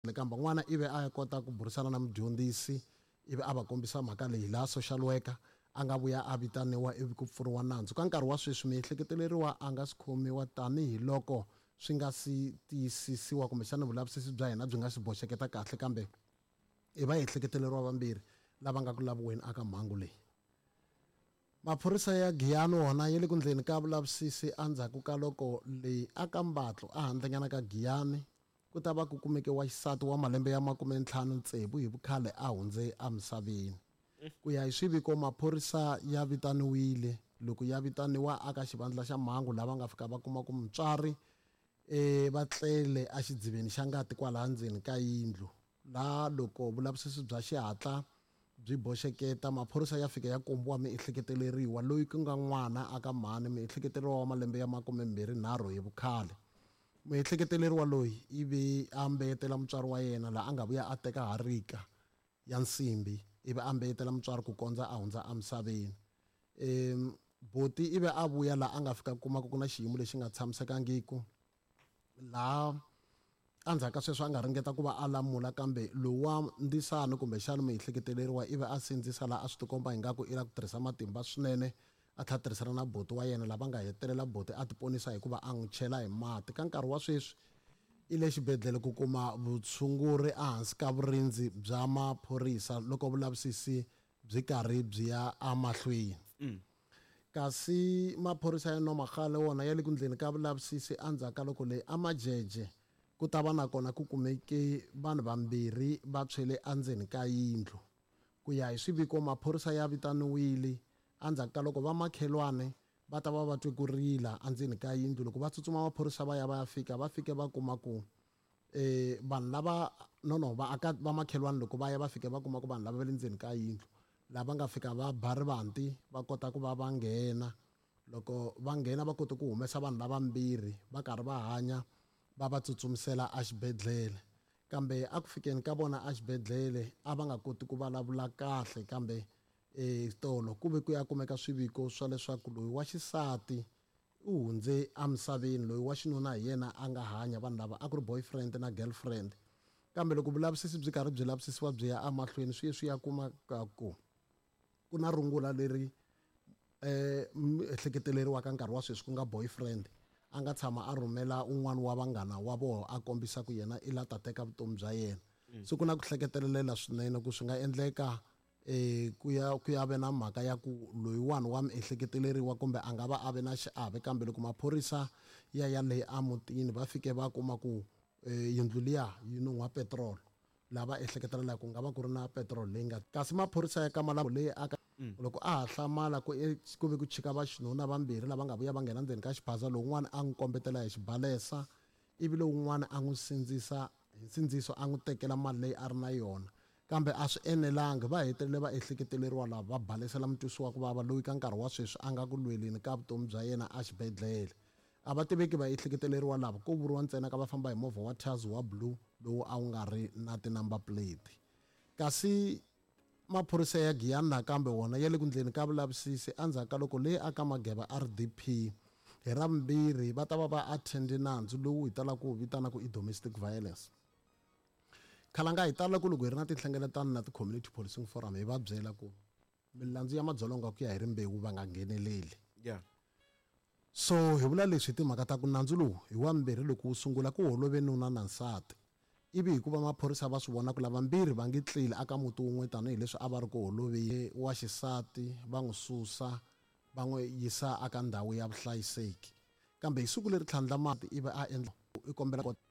Kambe n'wana ivi a ya kota ku burisana na mudyondzisi, ivi a va kombisa mhaka leyi laha social worker a nga vuya a vitaniwa ivi ku pfuriwa nandzu. Ka nkarhi wa sweswi miehleketeleriwa a nga si khomiwa tanihiloko swi nga si tiyisisiwa kumbexana vulavisisi bya hina byi nga si boxeketa kahle, kambe i vaehleketeleriwa vambirhi lava nga ku laviweni aka mhangu leyi. Maphorisa ya Giyani wona ya le ku ndleni ka vulavisisi endzhaku ka loko leyi aka mbatlo ehandlenyana ka Giyani ku ta va ku kumeke wa xisati wa malembe ya 56 hi vukhale a hundze emisaveni. Ku ya hi swiviko, maphorisa ya vitaniwile loko ya vitaniwa aka xivandla xa mhangu lava nga fika va kuma ku mutswari va tlele exidziveni xa ngati kwalaha ndzeni ka yindlu. Laha loko vulavisisi bya xihatla byi boxeketa, maphorisa ya fika ya kombiwa miehleketeleriwa loyi ku nga n'wana aka mhani, miehleketeleriwa wa malembe ya 23 hi vukhale. Muehleketeleriwa loyi ivi a mbeyetela mutswari wa yena laha a nga vuya a teka harika ya nsimbi ivi a mbeyetela mutswari ku kondza a hundza emisaveni. Boti ivi a vuya laha a nga fika kuma ku na xiyimo lexi nga tshamisekangiki, laha endzhaku ka sweswo a nga ringeta ku va a lamula, kambe lowa ndzisano kumbexana muehleketeleriwa ivi a sindzisa laha a swi tikomba ingaku i lava ku tirhisa matimba swinene, a tlhela a tirhisana na boti wa yena lava nga hetelela boti a tiponisa hikuva a n'wi chela hi mati. Ka nkarhi wa sweswi i le xibedhlele ku kuma vutshunguri ehansi ka vurindzi bya maphorisa loko vulavisisi byi karhi byi ya emahlweni. Kasi maphorisa ya Nomagale wona ya le ku ndleni ka vulavisisi endzhaku ka loko leyi amajeje ku ta va nakona ku kumeke vanhu vambirhi va tshwele endzeni ka yindlu. Ku ya hi swiviko, maphorisa ya vitaniwile endzhaku ka loko vamakhelwane va ta va va twe ku rila endzeni ka yindlu. Loko va tsutsuma maphorisa va ya va ya fika, va fike va kuma ku vanhu lava no no vaaka vamakhelwani loko va ya va fike va kuma ku vanhu lava va le ndzeni ka yindlu, lava nga fika va ba rivanti va kota ku va va nghena. Loko va nghena va kote ku humesa vanhu lavambirhi va karhi va hanya, va va tsutsumisela exibedhlele. Kambe a ku fikeni ka vona exibedhlele a va nga koti ku vulavula kahle, kambe tolo ku ve ku ya kumeka swiviko swa leswaku loyi wa xisati u hundze emisaveni, loyi wa xinuna hi yena a nga hanya. Vanhu lava a ku ri boyfriend na girlfriend, kambe loko vulavisisi byi karhi byi lavisisiwa byi ya emahlweni, swi ye swi ya kuma ka ku ku na rungula leri ehleketeleriwaka nkarhi wa sweswi ku nga boyfriend a nga tshama a rhumela un'wana wa vanghana wa vona a kombisa ku yena i la ta teka vutomi bya yena. Se ku na ku hleketelela swinene ku swi nga endleka ku ya ku ya ve na mhaka ya ku loyiwani wa miehleketeleriwa kumbe a nga va a ve na xiave. Kambe loko maphorisa ya ya le emutini va fike va kuma ku yindlu liya yi nun'hwa petrol, lava ehleketelela ku nga va ku ri na petrol leyi nga. Kasi maphorisa ya Kamalambo leyi aka loko a ha hlamala ku ku ve ku chika vaxinuna vambirhi lava nga vuya va nghena ndzeni ka xiphaza, lowun'wana a n'wi kombetela hi xibalesa ivi lowun'wana a n'wi sindzisa hi nsindziso a n'wi tekela mali leyi a ri na yona. Kambe a swi enelangi, va hetelele va ehleketeleriwa lava va balesela mutwisi wa ku vava loyi ka nkarhi wa sweswi a nga ku lweleni ka vutomi bya yena exibedhlele. A va tiveki va ehleketeleriwa lava, ko vuriwa ntsena ka va famba hi movha wa Tazz wa blue lowu a wu nga ri na ti-number plate. Kasi maphorisa ya Giyani nakambe wona ya le ku ndleni ka vulavisisi endzhaku ka loko leyi aka Mageba RDP hi Ravumbirhi va ta va va attende nandzu lowu hi talaka ku wu vitana ku i domestic violence. Khalanga hi tala ku loko hi ri na tinhlengeletano na ti-community policing forum hi va byela ku milandzu ya madzolonga ku ya hi rimbewu va nga ngheneleli. So hi vula leswi hi timhaka ta ku nandzu lowu hi wa mbirhi loko wu sungula ku holove nuna na nsati, ivi hikuva maphorisa va swi vona ku lavambirhi va nge tleli aka muti wun'we tanihileswi a va ri ku holoveni, wa xisati va n'wi susa va n'wi yisa aka ndhawu ya vuhlayiseki. Kambe hi siku leri tlhandlamaka ivi a endla i kombela.